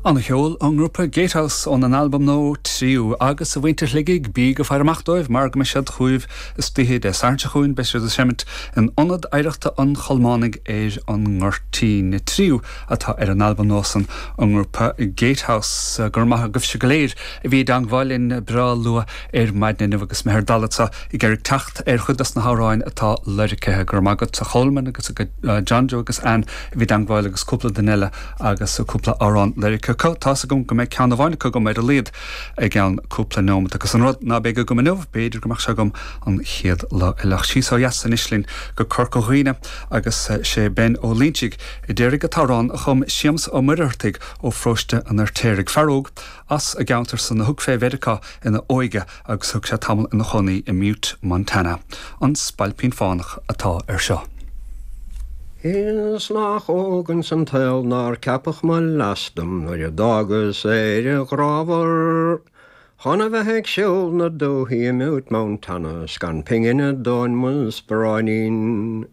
Ana-cheol ón ngrúpa Gatehouse óna n-albam nua Tríú. Agus a mhuintir Shligigh, bíg ag faire amach dóibh mar go mbeidh siad chugaibh istoíche Dé Sathairn seo chugainn, beidh siad ag seimint in Ionad Oidhreachta an Cholmánaigh ar an nGoirtín. Tríú atá ar an albam nua san ón ngrúpa Gatehouse. Go raibh maith agaibhse go léir a bhí i dteangmháil linn breá luath ar maidin inniu agus mé ar dalladh anseo ag iarraidh teacht ar chuid dos na hamhráin atá loirgthe. Go raibh maith agat a Cholmáin agus a John Joe agus Ann a bhí i dteangmháil agus cúpla duine eile agus cúpla amhrán loirgthe acu. Tá's agam go mbeidh ceann amháin acu agam ar a laghad i gceann cúpla neomat agus an rud ná beidh agam inniu, b'fhéidir go mbeadh sé agam an chéad lá eile. Ach síos ó dheas anois linn go Corca Dhuibhne agus sé Ben Ó Loinsigh a d'iarraidh an t-amhrán a chum Séamus Ó Muircheartaigh ó Pharóiste an Fheirtéaraigh, fear óg as an gceantar san a thug fé Mheiriceá ina óige agus thug sé tamall ina chónaí i mButte, Montana. An Spailpín Fánach atá air seo. Is nach óg ins an tsaol nár ceapadh mo leas dom nuair a d'fhágas Éire ghrámhar chun a bheith ag siúl na dúthaí i mButte, Montana 's gan pingin i dtóin mo sparáinín.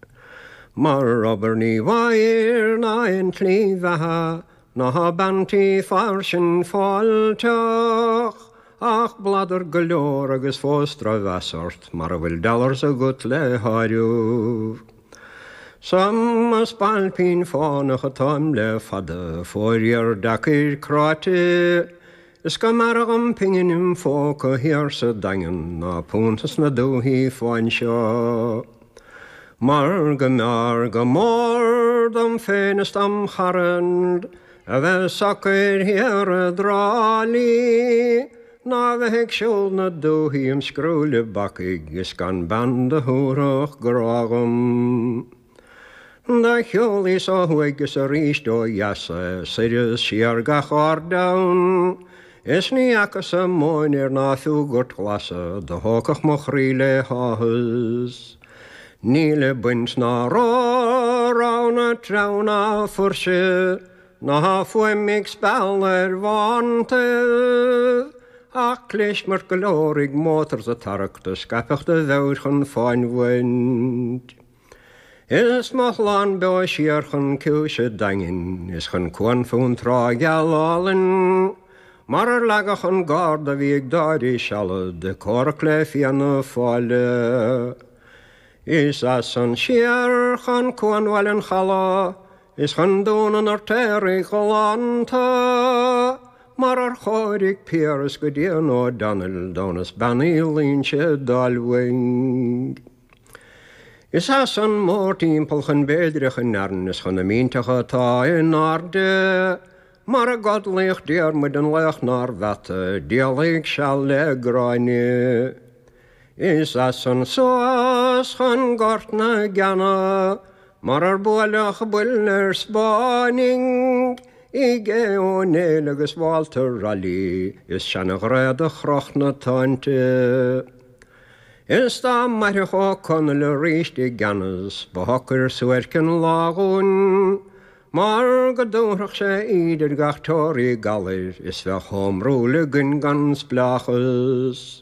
Mar obair ní bhfaighir ná aon tslí bheatha Ná bean tí fairsing fáilteach ach bladar go leor agus fós drochmheas ort mara bhfuil dollars agat le háireamh. 'S i mo spailpín fánach atáim le fada, fóiríor deacair cráite, is go mb'fhearra dhom pingin im phóca thiar sa Daingean ná punt sna dúthaí fáin seo. Mar go mb'fhearr go mór dom féin is dom charaid a bheith socair thiar i dTrá Lí ná a bheith ag siúl na dúthaí im scrúille bacaigh is gan bean do thabharfadh grá dhom. Do shiúlaíos ó thuaidh is aríst ó dheas soir is siar gach ardán is ní fhacas-sa móinéar ná fiú gort glas do thógfadh mo chroí le háthas. Níl baint ná rogha treabh ná fuirse ná fuaim ag spealadh ar bhántaibh ach clismirt go leor ag mótar 's ag tarrac do scaipfeadh do mheabhair chun fáinbhaint. Is mo shlán beo siar chun Ciumhais an Daingin is chun cuan fún trá gheal álainn mar ar leagadh an garda a bhí ag Dáire Sealad ag comhrac le Fianna Fáil. Is as san siar chun cuan Bhaile an Chalaidh is chun Dún an Fheirtéaraigh ghalánta mar ar chóirigh Piaras go dian O'Donnell d'fhonn is Bean Uí Loingsigh d'fháil uaidh. Is as san mórtimpeall chun Béidreach in Arann is chun na mínteacha atá in airde mar a gcodlaíodh Diarmuid an laoch nár mheata d'éalaigh seal le Gráinne. Is as san suas chun Gort na gCeanna mar ar buaileadh buille ar Spáinnigh i gCé Ó Néill agus Walter Raleigh is seana-ghrá do chroch na táinte. Is dá mairfeadh Ó Conaill aríst i gceannas ba shocair suairc an lá dhúinn mar go dtabharfadh sé íde ar gach teoraí galair is bheadh Home Rule againn gan spleáchas.